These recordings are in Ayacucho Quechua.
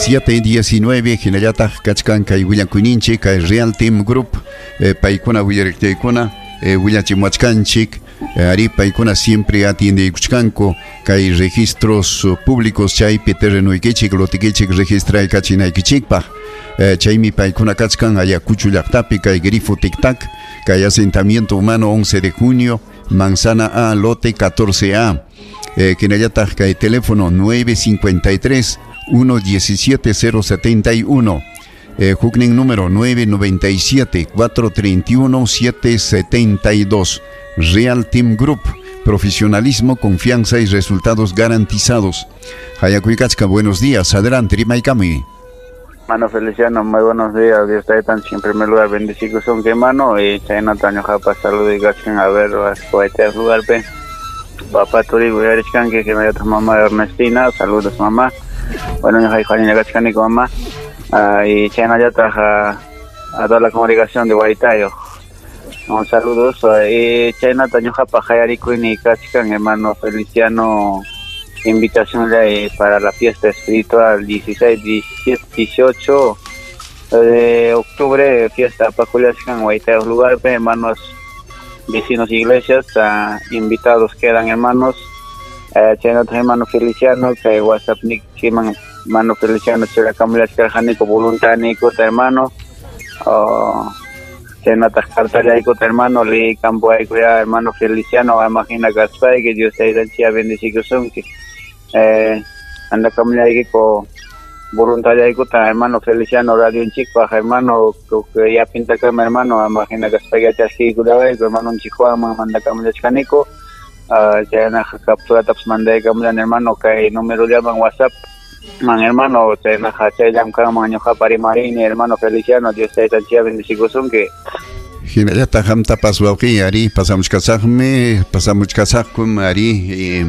7:19 hinallataq kachkan kay willakuyninchik kay Real Team Group paykuna willariqtiykuna willachimuwachkanchik ari paykuna siempre atiendeykuchkanku kay registros públicos chaypi terrenuykichik lotikichik registraykachinaykichikpaq chaymi paykuna kachkan Ayacucho llaqtapi kay Grifo Tic Tac kay asentamiento humano 11 de junio Manzana A lote 14A hinallataq kay teléfono 953 117 071 huknin número 997 431 772. Real Team Group, profesionalismo, confianza y resultados garantizados. Hayakuykachka, buenos días, adelante, rimaykami. Mano Feliciano, muy buenos días. Dios te tan en primer lugar bendecido son que mano y chaynata ñuqapas saludaykachikan a ver las lugar pe. Papá turi que que me mamá Ernestina, saludos mamá. Bueno, ñuqayku mamá. Y chaynallataq a toda la congregación de Huaytayo. Un saludo y chaynata ñuqapaq hayarikuyni kachkan hermano Feliciano, invitación para la fiesta espiritual 16, 17, 18 de octubre, fiesta Paculiachkan Huaytayo lugar, hermanos vecinos iglesias, invitados quedan hermanos. Chaynata hermano Feliciano, que WhatsApp nikiman hermano Feliciano churakamulachkarqaniku voluntaniku hermano. Chaynataq cartallaykuta hermano liykampuayku ya hermano Feliciano imagina kaspayki Dios taytanchik bendecikusunki. Andakamullaykiku voluntariyaykuta hermano Feliciano radionchikpaq hermano yapintakama hermano imagina kaspayki chaskiykulawayku hermanonchik Juanman mandakamulachkaniku. Chaynaqa capturatapas mandaykamullani hermano kay numerollaman WhatsApp man hermano chaynaqa chayllamkanman ñuqapa rimarini hermano Feliciano Dios taytanchik bendecikusunki. Hinallataq qamtapas wawqiy ari pasamuchkasaqmi pasamuchkasaqkum ari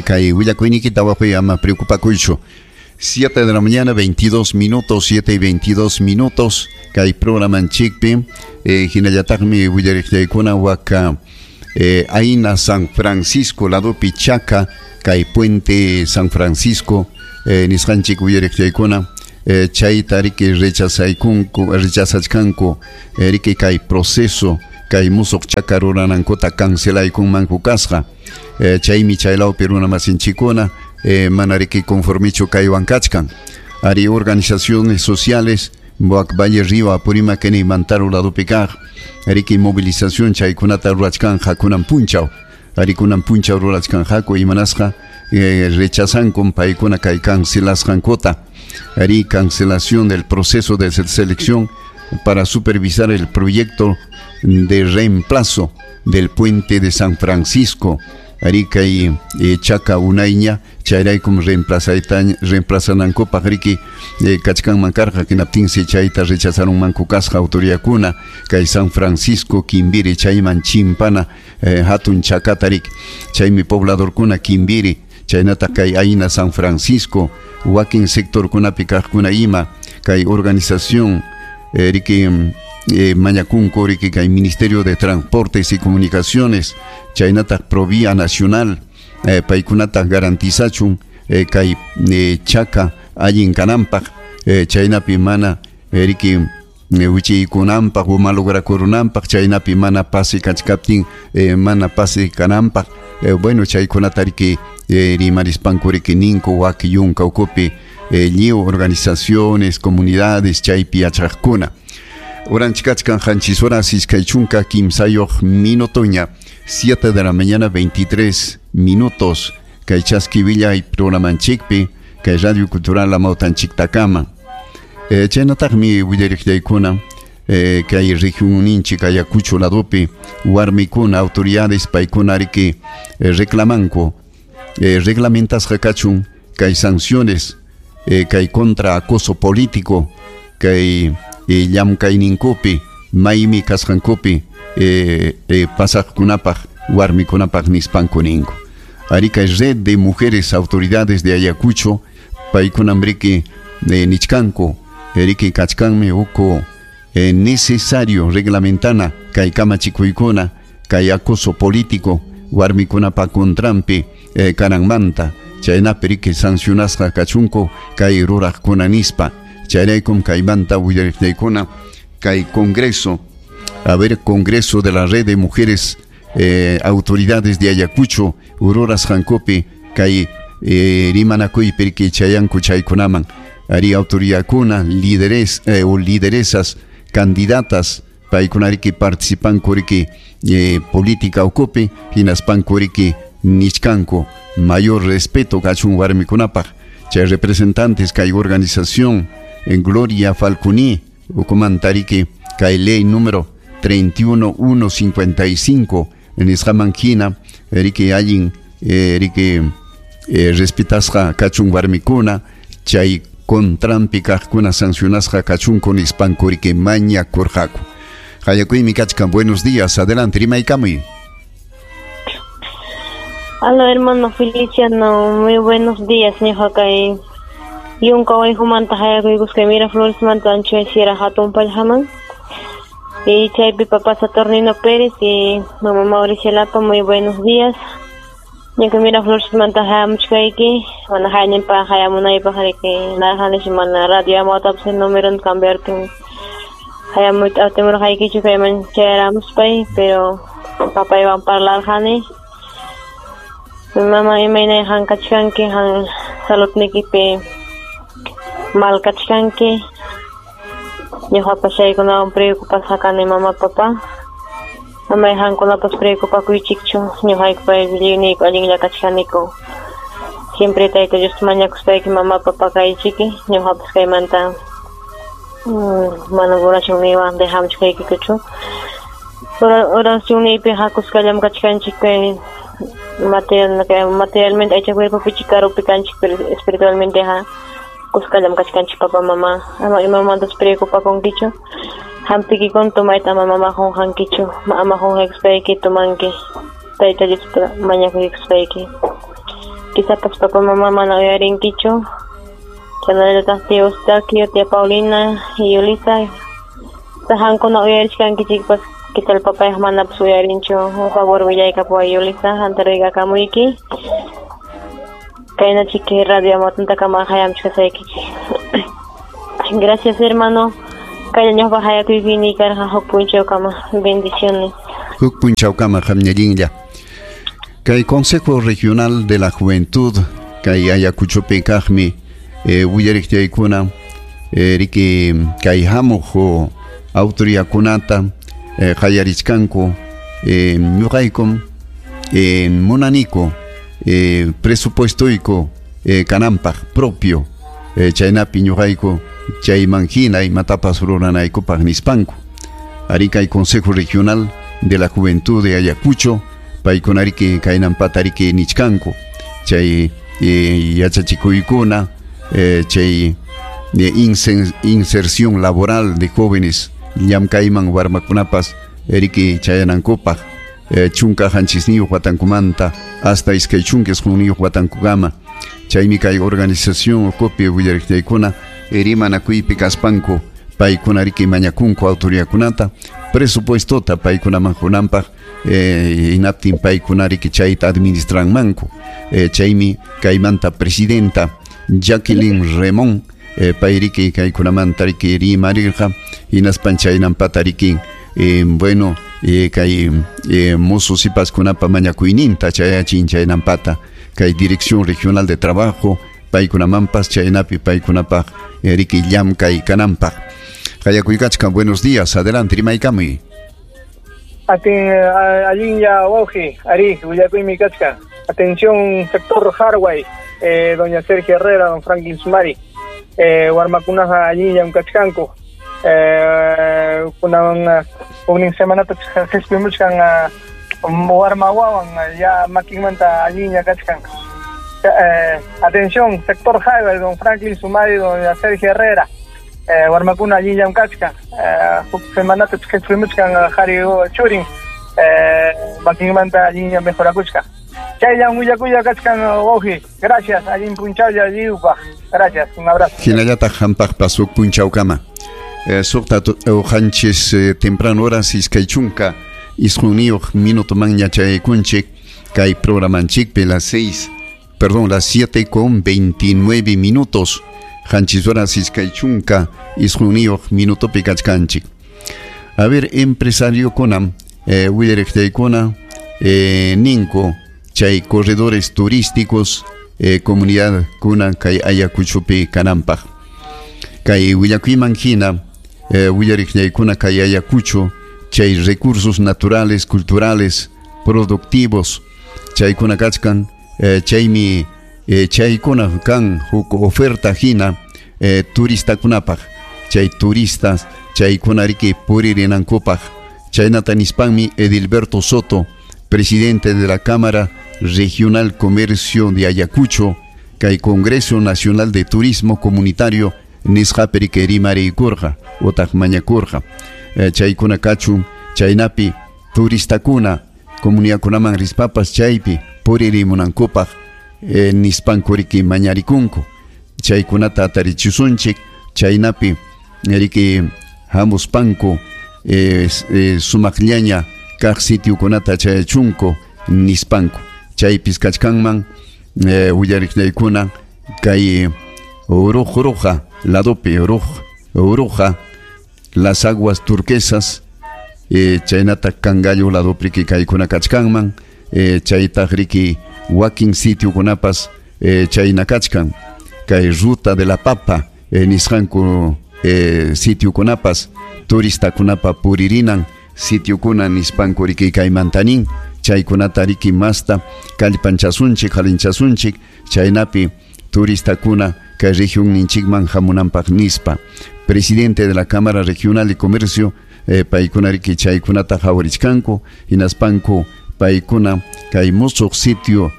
kay willakuyniykita wawqiy ama preocupakuychu. 7 de la mañana 22 minutos, 7:22 minutos kay programanchikpi hinallataqmi willariqllaykuna waka Aina San Francisco ladopi Chaca kay Puente San Francisco nisqanchik willariqllaykuna chayta riki rechazaykunku rechazachkanku riki kay proceso kay musuq chaca ruranankuta cancelaykunmanku kasqa chaymi chaylawpi runamasinchikuna mana riki conformichu kaywan kachkan ari organizaciones sociales Boac Valle Río Apurímac y Mantaro ladopi kaq riki movilización chaykunata rurachkanja kunan punchaw ari kunan punchaw rurachkanjaku imanasqa rechazanku paykuna kay cancelasqankuta ari cancelación del proceso de selección para supervisar el proyecto de reemplazo del puente de San Francisco ari kay Chaca unayña chayraykum reemplazanankupaq riki kachkanman karqa hinaptinsi chayta rechazarunmanku kasqa autoridadkuna kay San Francisco Kimbiri chayman chimpana hatun chakata riki chaymi pobladorkuna Kimbiri chaynataq kay Aina San Francisco wakin sectorkunapi kaqkuna ima kay organización riki mañakunku riki kay Ministerio de Transportes y Comunicaciones chaynataq Provía Nacional paykunata garantizachun kay chaca allin kananpaq chaynapi mana riki wichiykunanpaq o malograkurunanpaq chaynapi mana pase kachkaptin mana pase kananpaq bueno chaykunata riki rimarispanku riki ninku waki yunka ukupi lliw organizaciones comunidades chaypi yachaqkuna Oranchikachkan qanchis horas iskay chunka kimsayuq minutoña 7 de la mañana 23 minutos kay chaski willay programanchikpi kay Radio Cultural Amawtanchiktakama chaynataqmi willariqllaykuna kay regionninchik Ayacucho ladopi warmikuna autoridades paykuna riki reclamanku reglamentasqa kachun kay sanciones kay contra acoso político kay llamkayninkupi maymi kasqankupi pasaqkunapaq warmikunapaq nispanku ninku ari kay red de mujeres autoridades de Ayacucho paykunam riki nichkanku riki kachkanmi uku necesario reglamentana kay kamachikuykuna kay acoso político warmikunapa contranpi kananmanta Chaynapi riki sancionasqa kachunku kay ruraqkuna nispa. Chayraykum kaymanta willariqniykuna kay Congreso, a ver, Congreso de la Red de Mujeres Autoridades de Ayacucho rurasqankupi kay rimanakuypi riki chayanku chaykunaman. Ari autoridadkuna, líderes o lideresas, candidatas, paykuna riki participanku riki política ukupi, hinaspanku riki nichkanku mayor respeto kachun warmikunapaq. Chay representantes kay organización en Gloria Falconi ukumanta riki kay ley número 31155 nisqaman hina riki allin riki respetasqa kachun warmikuna chay contranpi kaqkuna sancionasqa kachunku nispanku riki mañakurqaku. Hayakuymi kachkan, buenos días, adelante, rimaykamuy. Aló, hermano Feliciano, muy buenos días, ñuqa kay yunka wayhumanta hayakuykusqa Miraflores manta Ancho Sierra hatun pallhaman. Y chaypi papá Saturnino Pérez y mamá Mauricio Lapa, muy buenos días. Ñuqa Miraflores manta hayamuchkayki, mana hayañinpa hayamunaypaq riki narjanish mana radio amawtapas número cambiartin hayamuyta atimurqaykichu kayman chayaramuspay, pero papaywan parlarqani. Mama imaynay han kachkanki, han saludnikipi mal kachkanki. Ñuqapas chaykunawan preocupasqa kani mama papa. Mamay hankunapas preocupakuychikchu, ñuqaykupa lliwniyku allinlla kachkaniku. Siempre Tayta Dios mañakuspayki mama papa kaychiki, ñuqapas kaymanta mana oracionniywan dejamuchkaykikuchu. Oracionniypi hakusqallam kachkanchik kay materialmente aycha cuerpopichik karupi kanchik, pero espiritualmente ha kusqallam kachkanchik papa mama. Ama imamantas preocupakunkichu. Hampikikun tumayta ama mama qunqankichu, ama qunqaykuspayki tumanki Tayta Diosta mañakuykuspayki. Quizás papá mamá mana uyarinkichu. Chaynallataq tío Eustaquio, tía Paulina y Yulisa. Sahankuna uyarichkankichikpas, ¿qué tal papá manapas uyarinchu? Un favor willaykapuway Yulisa, hanta rigakamuyki. Kayna chiki radio amatuntakama hayamuchkasaykichik. Gracias, hermano. Kaya ñuqpa hayakuypini karqa huk punchawkama. Bendiciones. Huk punchawkama qamñallinlla. Kay Consejo Regional de la Juventud kay Ayacuchopi kaqmi willariqtiaykuna riki kay hamuq autoridadkunata qayarichkanku ñuqaykum munaniku presupuestoyku kananpaq propio chaynapi ñuqayku chayman hina imatapas ruranaykupaq nispanku. Ari kay Consejo Regional de la Juventud de Ayacucho paykuna riki kaynampata riki nichkanku chay yachachikuykuna chay inserción laboral de jóvenes llamkayman warmakunapas riki chayanankupaq chunka hanchisniyuq watankumanta hasta iskay chunka isqunniyuq watankukama. Chaymi kay organización ukupi willariqtiaykuna rimanakuypi kaspanku paykuna riki mañakunku autoridadkunata presupuestota paykunaman qunanpaq hinaptin paykuna riki chayta administranmanku. Chaymi kaymanta presidenta Jacqueline Remón payriki kaykunamanta riki rimarirqa hinaspan chaynampata riki bueno kay mozo sipaskunapa mañakuyninta chayachin chaynampata kay Dirección Regional de Trabajo paykunamanpas chaynapi paykunapaq riki llamkay kananpaq. Hayakuykachkan, buenos días, adelante, rimaykamuy. Atin allinlla wawqi, ari willakuymi kachkan. Atención sector Harway, doña Sergio Herrera, don Franklin Sumari. Warmakunaqa allinllam kachkanku. Kunan huknin semanata qhispimuchkan warma wawan ya makinmanta allinlla kachkan. Atención sector Harway, don Franklin Sumari, doña Sergio Herrera. Warmakuna allinllam kachkan. Huk semanata qhispimuchkan qhari churin makinmanta allinllam mejorakuchkan. Chayllam willakuya kachkan wawqi. Gracias, allin punchawlla lliwpaq. Gracias, un abrazo. Hinallataq hampaqpas huk punchawkama. Suqta uqanchis temprano horas iskay chunka isqunniyuq minutomanña chayaykunchik kay programanchikpi las 6 Perdón, las 7:29 minutos. Qanchis horas iskay chunka isqunniyuq minutopi kachkanchik. A ver, empresariokuna, willariqtaykuna, ninku chay corredores turísticos comunidadkuna kay Ayacuchopi kananpaq. Kay willakuyman hina, willariqllaykuna kay Ayacucho chay recursos naturales, culturales, productivos chaykuna kachkan, chaymi chaykuna kan huk oferta hina turistakunapaq, chay turistas chaykuna riki puririnankupaq. Chaynata nispanmi Edilberto Soto, presidente de la Cámara Regional Comercio de Ayacucho, kay Congreso Nacional de Turismo Comunitario nisqapi riki rimariykurqa utaq mañakurqa. Chaykuna kachun chaynapi turistakuna comunidadkunaman rispapas chaypi puririmunankupaq, nispanku riki mañarikunku. Chaykunata atarichisunchik chaynapi riki hamuspanku sumaqllaña kaq sitiokunata chayachunku nispanku. Chaypis kachkanman willariqllaykuna kay Uruj ladopi, Uruja, las aguas turquesas, chaynata Cangallo ladopi riki kaykuna kachkanman, chaytaq riki wakin sitiokunapas chayna kachkan, kay Ruta de la Papa nisqanku sitiokunapas turistakunapa puririnan sitiokuna nispanku riki kaymantanin. Chaykunata riki masta kallpanchasunchik, halinchasunchik chaynapi turistakuna kay región ninchikman hamunanpaq nispa. Presidente de la Cámara Regional de Comercio, paykuna riki chaykunata hawarichkanku, hinaspanku paykuna kay musuq sitio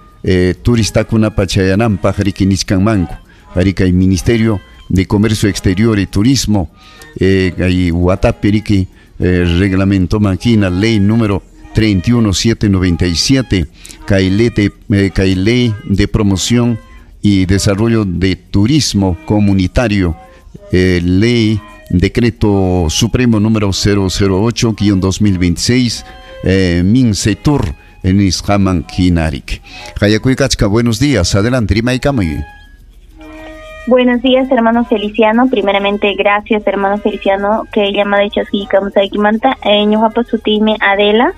turistakunapa chayananpaq riki nichkanmanku. Ari kay Ministerio de Comercio Exterior y Turismo, kay watapi riki reglamentoman hina ley número 31797, kay ley de promoción y desarrollo de turismo comunitario, ley decreto supremo número 008-2026, Mincetur nisqaman hinarik. Hayakuykachka, buenos días, adelante, rimaykamuy. Buenos días, hermano Feliciano. Primeramente, gracias, hermano Feliciano, que llamada chaskiykamusqaykimanta. Ñuqapa sutiymi Adela.